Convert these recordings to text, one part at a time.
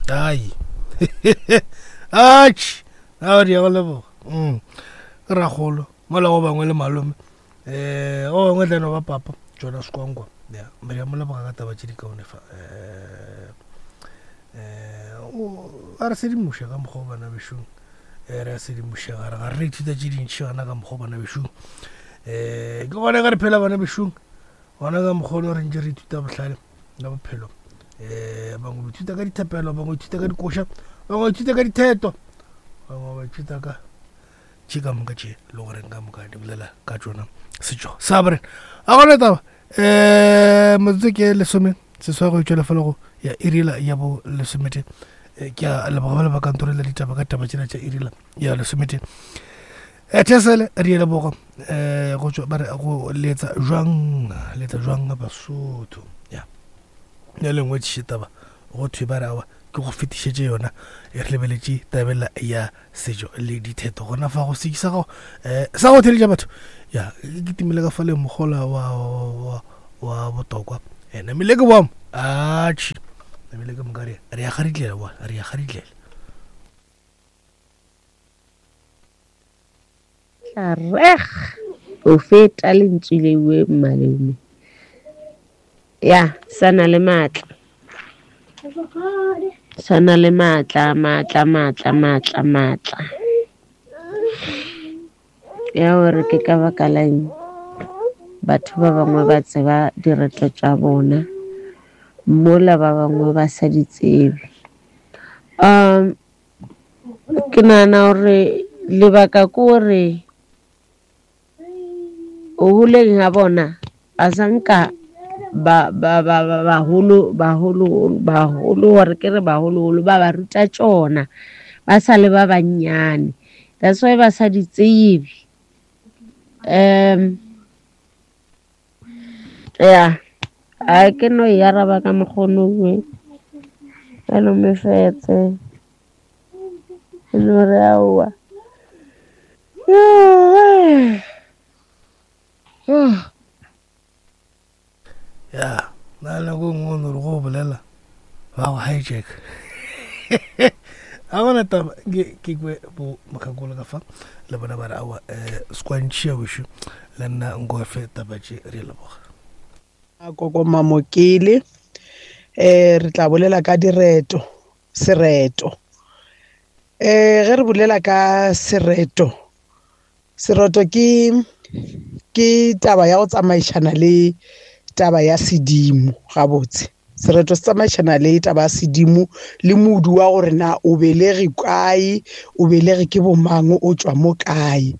Ai. Atšhe, a re ya go leboga. Mm. Ke ragolo, mola go bangwe le malome. Eh, go bangwe tla no ba papa, Jonas Kwankwa. Ya, re ya mo leboga ka taba tše di kaone fa. Eh, eh, o a re sedimoša ka mokgwa o bana bešong. Eh, re a sedimošega, re ga re ithuta tše dintši gana ka mokgwa o bana bešong. Eh, ke gona ka re phela bana bešong. Gona ka mokgwa ono re ntše re ithuta bohlale la bophelo. Eh, bangwe ba ithuta ka dithapelo, bangwe ba ithuta ka dikoša, bangwe ba ithuta ka ditheto, bangwe ba ithuta ka tše ka moka tše le goreng ka moka di bolela ka tšona setšo sa borena. A gona taba um metsotso ke lesome seswai go itšwela fela go ya irila ya bo lesomete. Ke a leboga ba le ba kantoro la ditaba ka taba tšela tša irila ya lesomete. Thesele re leboga um go tšwa ba re go letsa jwang letsa jwang Basotho ya ya lengwe tše taba go thwe ba re awa ke go fetišetše yona e re lebeletše tabela ya setšo le ditheto gona fa go seki sa gago um sa go theletša batho ya ke timile ka fa le mogola wa wa wa botokwa um namile ke boamo atšhe namile ke moka re ya garitlela wa re ya garitlela Tla reg o feta lentswe lewe mmalome ya sa na le maatla sa na le maatla maatla maatla maatla maatla ya gore ke ka baka la eng batho ba bangwe ba tseba direto tša bona mola ba bangwe ba sa di tsebe um Ke nagana gore lebaka ke gore go goleng ga bona ba sa nka bagolo bagolo bagolo or ke re bagologolo ba ba ruta tšona ba sa le ba bannyane. That's why ba sa di tsebe. Ya a ke no e araba ka mokgono we ka no mefetse e no re aowa. Ya na nako e nngwe o no re go bolela ba go hijack ga gona taba ke ke kwe bo mokgekolo ka fa le bona ba re aowa um sekwantšhia wešo le nna nkofe taba tše re leboga. Koko Mamokele eh re tla bolela ka direto sereto eh ge re bolela ka sereto sereto ke ke taba ya go tsamaišana le taba ya sedimo gabotse sereto se tsamaišana le taba ya sedimo le modu wa gore na o belege kae o belege ke bomang o tšwa mo kae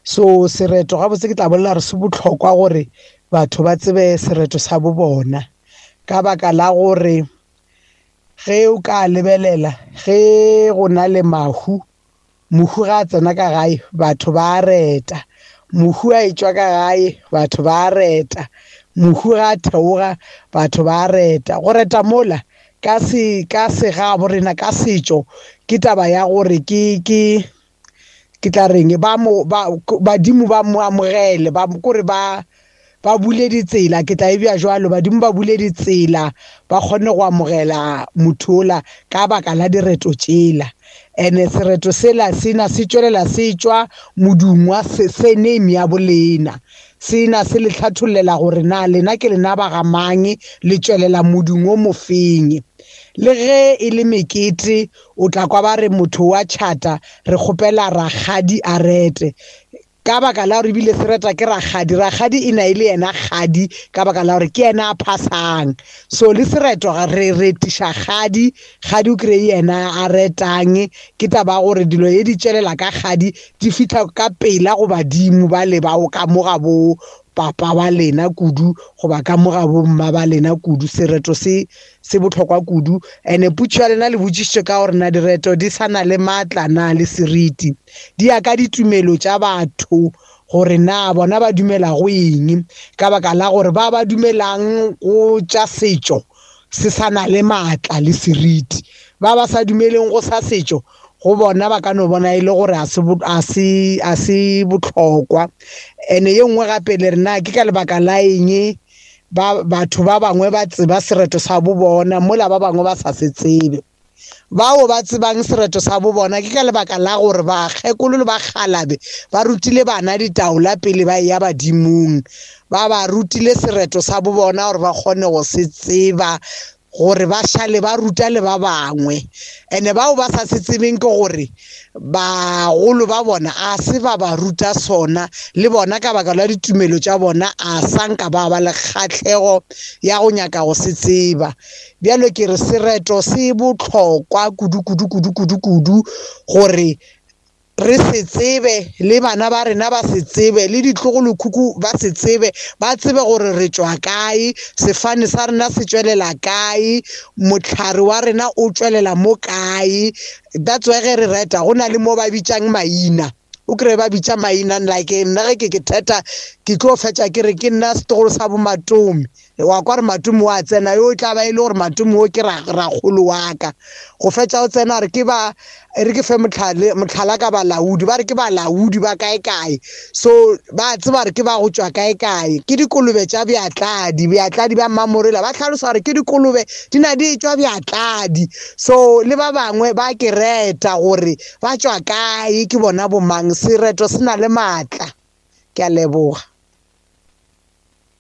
so sereto gabotse ke tla bolela gore se bohlokwa gore batho ba tsebe sereto sa bo bona ka baka la gore ge o ka lebelela ge go na le mahu mohu ga a tsena ka gae batho ba reta mohu a etšwa ka gae batho ba reta mohu ga a theoga batho ba reta go reta mola ka se ka segabo rena ka setšo ke taba ya gore ke ke ke tla reng ba mo ba badimo ba mo amogele ba kore ba ba bule ditsela ke tla e bja jwalo badimo ba bule ditsela ba kgone go amogela motho ola ka baka la direto tšela ene sereto sela sena se tšwelela se tšwa modung wa surname ya bolena sena se le hlathollela gore na lena ke lena ba ga mang le tšwelela modung o mofeng le ge e le mekete o tla kwa ba re motho wa tšhata re kgopela rakgadi a rete ka baka la gore ebile se reta ke rakgadi rakgadi e na e le yena kgadi ka baka la gore ke yena a phasang so le sereto re retiša kgadi kgadi o kry yena a retang ke taba ya gore dilo ye di tšwelela ka kgadi di fihla ka pela go badimo ba le bao ka mo ga bo papa ba lena kudu goba ka mo ga bo mma ba lena kudu sereto se se bohlokwa kudu ene putšo ya lena le botšišitše ka gore na direto di sa na le maatla na le seriti di ya ka ditumelo tša batho gore na bona ba dumela go eng ka baka la gore ba ba dumelang go tša setšo se sa na le maatla le seriti ba ba sa dumeleng go sa setšo go bona ba ka no bona e le gore a se bohlokwa ene ye nngwe gape le re na ke ka lebaka la eng ba batho ba bangwe ba tseba sereto sa bo bona mola ba bangwe ba sa se tsebe. Bao ba tsebang sereto sa bo bona ke ka lebaka la gore bakgekolo le bakgalabe ba rutile bana ditaola pele ba eya badimong. Ba ba rutile sereto sa bo bona gore ba kgone go se tseba gore ba šale ba ruta le ba bangwe. Ene bao ba sa se tsebeng ke gore bagolo ba bona a se ba ba ruta sona, le bona ka baka la ditumelo tša bona a sa nka ba ba le kgahlego ya go nyaka go se tseba. Bjalo ke re sereto se bohlokwa kudu kudu kudu kudu kudu gore re se tsebe, le bana ba rena ba se tsebe, le ditlogolokhukhu ba se tsebe, ba tsebe gore re tšwa kae, sefane sa rena se tšwelela kae, mohlare wa rena o tšwelela mo kae. That's why ge re reta go na le mo ba bitšang maina, o kry-e ba bitša maina like nna ge ke ke theta ke tlo fetša ke re ke nna setlogolo sa boMatome. Wa kwa gore Matome wa tsena, yo e tla ba e le gore Matome o ke rakgolo wa ka. Go fetša o tsena re ke ba e re ke fe mohlale mohlala ka balaodi, ba re ke balaodi ba kae kae. So ba tseba gore ke ba go tšwa kae kae. Ke dikolobe tša bjatladi, bjatladi bja Mmamorela ba hlalosa gore ke dikolobe di na di tšwa bjatladi. So le ba bangwe ba ke reta gore ba tšwa kae, ke bona bomang. Sereto se na le maatla. Ke a leboga.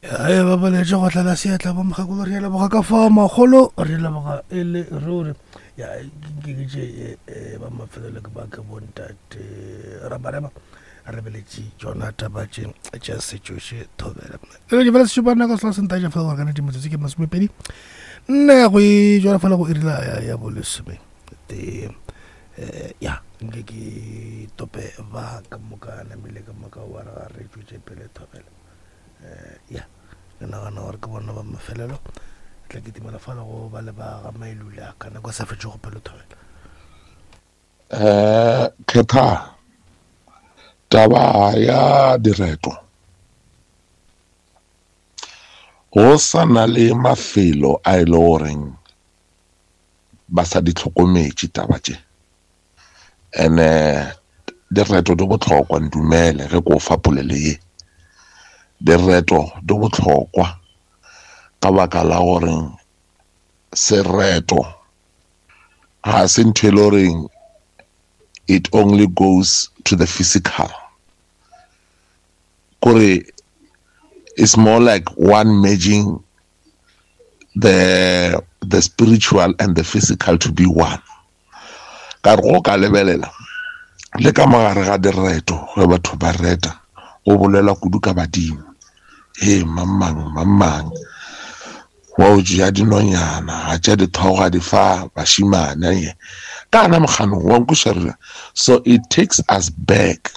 Ae ba boletše go tlala seatla bo mokgekolo, re a leboga ka fao makgolo, re leboga e le ruri. Ya ke ke tše eh, ba mafelelo ke ba ke bontate rabareba re beletše tšona taba tše tša setšoše thobela. E ke fela sešupana ka selo sentaja fela gore ka nete metsotso ke masomepedi nne go e jwala fela go irila ya, ya bolesome tee. Eh, ya nke ke tope ba ka moka namile ka moka wa re ga re tšwetše pele thobela. Eh, ya ke nagana gore ke bona ba mafelelo tla ke timela fala go ba le ba ga mailula ka nako sa fetše go pelo thobela. Eh, kgetha taba ya direto go sa na le mafelo a e le goreng ba sa di tlhokometše taba tše. Ene direto di bohlokwa, ntumele ge ko fa polelo ye. Direto di bohlokwa ka baka la gore sereto ga se ntho e le goreng it only goes to the physical. Kore it's more like one merging the the spiritual and the physical to be one. Ka re go ka lebelela le ka mogare ga direto ge batho ba reta go bolelwa kudu ka badimo, he mang mang mang mang wa o tšea dinonyana a tšea dithogo a di fa bašimane ye ka ana moganong wa nkušarela. So it takes us back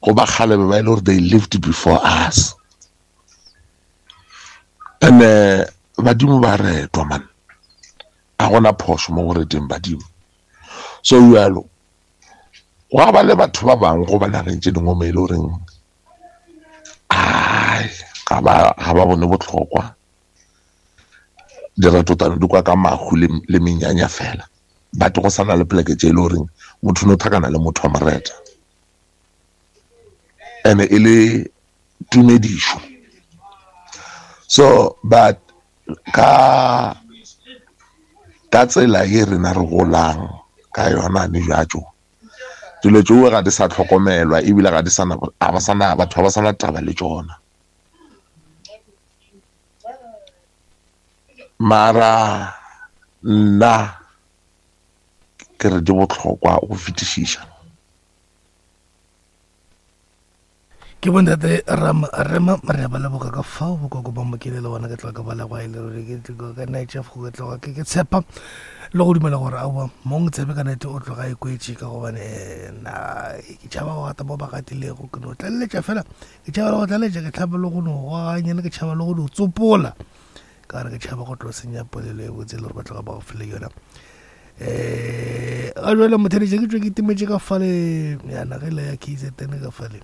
go ba kgale ba e le gore they lived before us. And badimo ba retwa man, a gona phošo mo go reteng badimo. So jalo gwa ba le batho ba bangwe go ba nageng tše dingwe mo e le goreng ai ga ba ga ba bone bohlokwa, direto tane di kwa ka mahu le menyanya fela, but go sana le poleke tše e le goreng motho no thakana le motho wa moreta ene e le tumedišo. So but ka ka tsela ye rena re golang ka yona ne bjatšo, dilo tšeo ga di sa tlhokomelwa ebile ga di sana, ga ba sana, batho ga ba sana taba le tšona. Mara nna ke re di bohlokwa go fetišiša. Ke bontate Rama Rema re ba leboga ka fao bokoko ba mokele le bona ke tloga ke ba leboga e le ruri ke tloga ka night shift ke tloga ke ke tshepa le go dumela gore aowa mong tsebe ka nete o tloga e kwetše ka gobane eh, na ke tšhaba go gata mo ba gatilego ke no tlaleletša fela ke tšhaba le go tlaleletša ke tlhaba le go no goganyana ke tšhaba le go no tsopola ka gore ke tšhaba go tlo senya polelo e botse e le gore ba tloga ba go file yona. Um ga jale motheletše ke tswe ke timetše ka fale ya nagela ya KZN ka fale.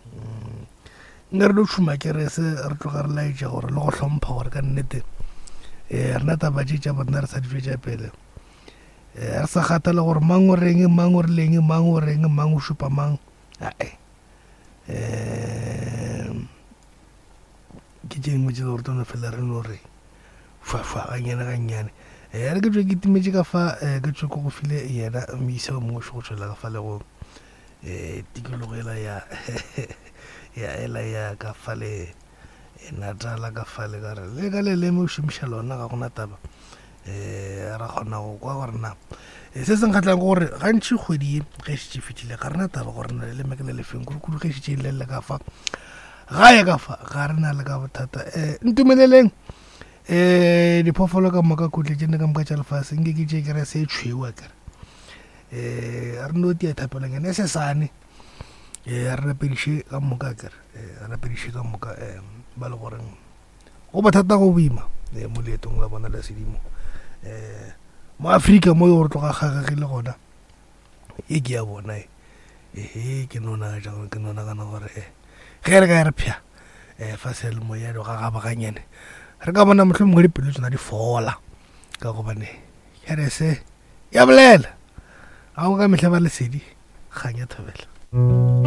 Nka re lo tšhuma kerese re tloga re laetša gore le go hlompha gore ka nnete um rena taba tše tša borena re sa di tšwetša pele. Um re sa kgathale gore mang o reng, mang o rileng, mang o reng, mang o šupa mang, ae. Um ke tše dingwe tše gore tlo no fela re no re fwa-fwa gannyane gannyane. Eh, re ke tswe ke timetše ka fa eh, ke tswe ke go file yena moisa o mongwe go tšwela ka fa le go eh, tikologo ela ya ya ela ya ka fa le eh, Natala ka fa le ka re le ka leleme o šomiša lona ga gona taba eh ra kgona go kwa gore na eh, se se nkgatlang ke gore gantši kgwedi ye ge e šetše e fetile ga rena taba gore na leleme ke le lefeng kudu-kudu ge e šetše e lelele ka fa gae ka fa ga re na le ka bothata um ntumeleleng um diphoofolo ka moka kotle tše nne ka moka tša lefase nke ke tše kere se tšhweu a kere um re no tia thapelong ene se sane um re rapediše ka moka a kere re rapediše ka moka um ba le goreng go bothata go boima um mo leetong la bona la sedimo um mo Afrika mo yo re tloga kgagegile gona e ke ya bona e ehe ke no nagana ke no nagana gore eh, ge re ka re phya um fa seyalemoya do gagabaganyane re ka bona mohlho mongwe dipelo tsona di fola ka gobane kerese ya bolela ga go ka mehla ba lesedi kgang ya thobela.